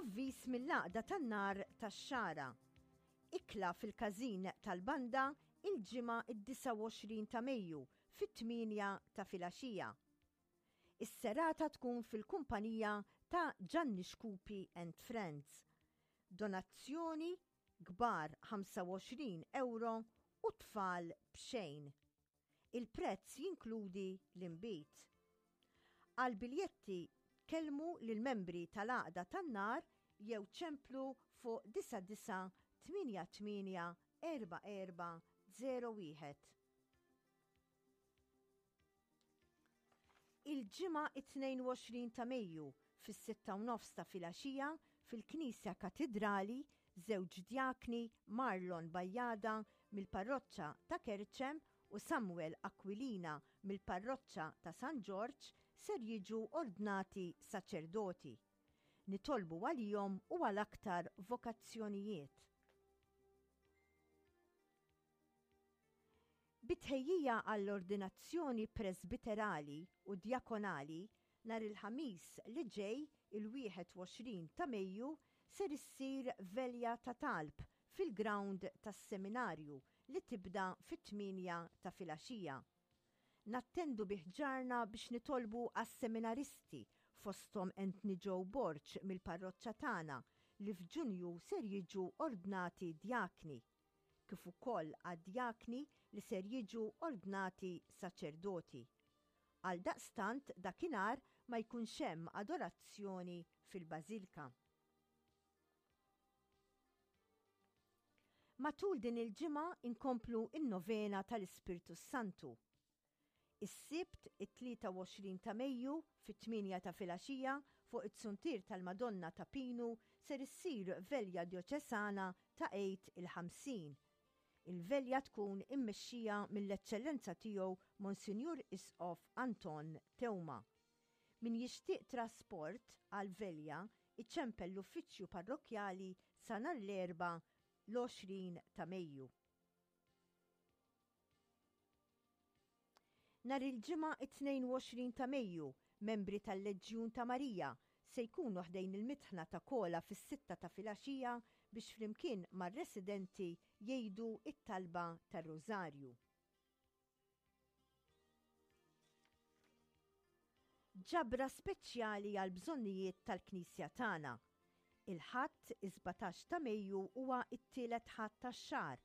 Avviż mill-Għaqda tan-Nar tax-Xagħra. Ikla fil-każin tal-banda il-Ġimgħa d-29 ta' Mejju fit-tmienja ta' filgħaxija. Is-serata tkun fil-kumpanija ta' Ġanni Xkupi and Friends. Donazzjoni kbar 25 ewro u tfal b'xejn. Il-prezz jinkludi l-inbid. Għall-biljetti kellmu lill-membri tal-Għaqda tan-Nar jew ċemplu fuq 99 88 44 01. Il-Ġimgħa it-22 ta' Mejju fis-sitta u nofs ta' filgħaxija fil-Knisja Katidrali żewġ djakni Marlon Bajada mill-Parroċċa ta' Kerċem u Samuel Aquilina mill-Parroċċa ta' San Ġorġ ser jiġu ordnati saċerdoti. Nitolbu għalihom u għal aktar vokazzjonijiet. Bi tħejjija għall-ordinazzjoni presbiterali u djakonali, nhar il-Ħamis li ġej, il-21 ta' Mejju, ser issir velja ta' talb fil-grawnd tas-Seminarju li tibda fit-tmienja ta' filgħaxija. Nattendu bi ħġarna biex nitolbu għas-seminaristi, fosthom Anthony Joe Borg mill-parroċċa tagħna li f'Ġunju ser jiġu ordnati djakni. kif ukoll għad-djakni li ser jiġu ordnati saċerdoti. Għaldaqstant dakinhar ma jkunx hemm adorazzjoni fil-Bażilka. Matul din il-ġimgħa inkomplu n-novena tal-Ispirtu s-Santu. Is-Sibt, it-23 ta' Mejju, fit-tmienja ta' filgħaxija, fuq it-Suntier tal-Madonna ta' Pinu ser issir Velja Djoċesana ta' Għid il-50. Il-velja tkun immexxija mill-Eċċellenza Tiegħu Monsinjur Isqof Anton Teuma. Min jixtieq trasport għall-velja iċempel l-Uffiċċju Parrokkjali sa nhar l-Erbgħa l-20 ta' Mejju. Nhar il-Ġimgħa it-22 ta' Mejju, membri tal-Leġjun ta' Marija se jkunu ħdejn il-mitħna ta' Kola fis-sitta ta' filgħaxija biex flimkien mar-residenti jgħidu t-talba tar-Rużarju. Ġabra speċjali għall-bżonnijiet tal-Knisja tagħna. Il-Ħadd, is-17 ta' Mejju huwa t-tielet Ħadd tax-xahar,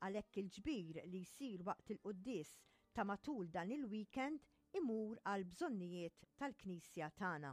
għalhekk il-ġbir li jsir waqt il-quddies ta' matul dan il-weekend imur għall-bżonnijiet tal-Knisja tagħna.